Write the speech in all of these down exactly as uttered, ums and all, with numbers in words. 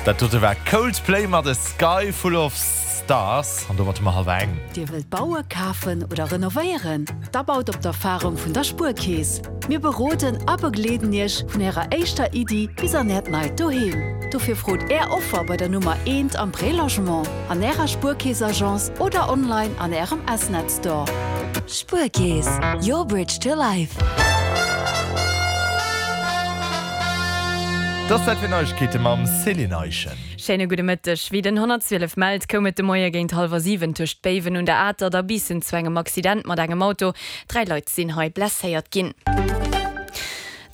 Dat dote war Coldplay mat A Sky Full of Stars an domat hu mer hallwer eng. Dir wëllt bauen, kafen oder renovéieren? Da baut op d'Erfarung vun der Spuerkeess. Mir beroden a begleeden Iech vun Ärer éischter Iddi bis an Äert neit Doheem. Dofir frot Är Offer bei der Nummer eent am Prélogement, an Ärer Spuerkeess-Agence oder online an Ärem S-Net Store. Spuerkeess, your bridge to life. Dat ass Zäit fir Neiegkeete mam Céline Eischen. Schéine gudde Mëtteg. Wéi den honnertzwielef mellt, koum et de Moie géint hallwer siwen tëscht Béiwen un der Atert a Biissen zu engem Accident mat engem Auto. Dräi Leit sinn hei blesséiert ginn.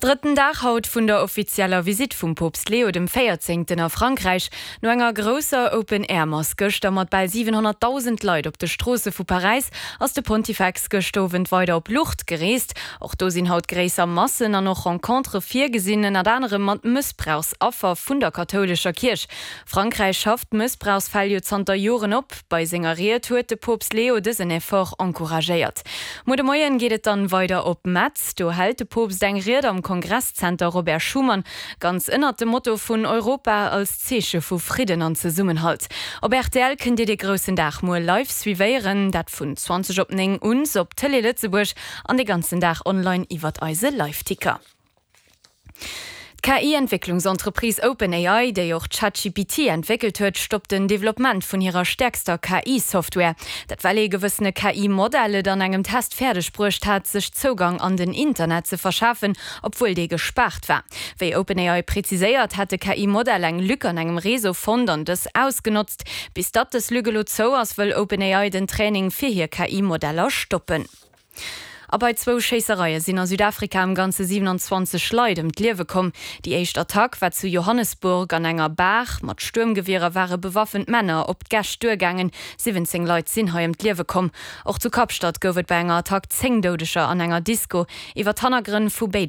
Drëtten Dag haut vun der offizieller Visitt vum Poopst Leo dem Véierzéngten a Frankräich. No enger grousser Open-Air-Mass gëschter mat bal siwenhonnertdausend Leit op de Stroosse vu Paräis ass de Pontifex gëscht Owend weider op Lourdes gereest. Och do sinn haut gréisser Massen an och Rencontere virgesinn, ënnert anerem mat Mëssbrauchsaffer vun der kathoulescher Kierch. Frankräich schafft Mëssbrauchsfäll jo zanter Joren op. Bei senger Ried huet de Poopst Leo dësen Effort encouragéiert. Muer de Moien geet et dann weider op Metz. Do hält de Poopst eng Ried am Kongresszenter Robert Schuman, ganz ënnert dem Motto vun Europa als Zeeche vu Fridden an Zesummenhalt. Op rtl kënnt Dir dee groussen Dag muer live suivéieren, dat vun zwanzeg op néng un op Tëlee Lëtzebuerg an de ganzen Dag online iwwert eise Liveticker. D'K I-Entwécklungsentreprise OpenAI, déi och ChatGPT entwéckelt huet, stoppt den Developpement vun hirer stäerkster K I-Software. Dat well ee gewëssene K I-Modell et an engem Test fäerdeg bruecht hat, sech Zougang an den Internet ze verschafen, obwuel dee gespaart war. Wéi OpenAI präziséiert, hätt de K I-Modell eng Lück an engem Réseau fonnt an dës ausgenotzt. Bis datt dës Lück elo zou ass, wëll OpenAI den Training fir hir K I-Modeller stoppen. A bei zwou Schéissereie sinn a Südafrika am Ganze siewenanzwanzeg Leit ëm d'Liewe komm. Déi éischt Attack war zu Johannesburg an enger Bar. Mat Stuermgewierer ware bewaffent Männer op d'Gäscht duergaangen. Siwwenzéng Leit sinn hei ëm d'Liewe komm. Och zu Kapstadt gouf et bei enger Attack zéng Doudeger an enger Disco. Iwwer d'Hannergrënn vu béide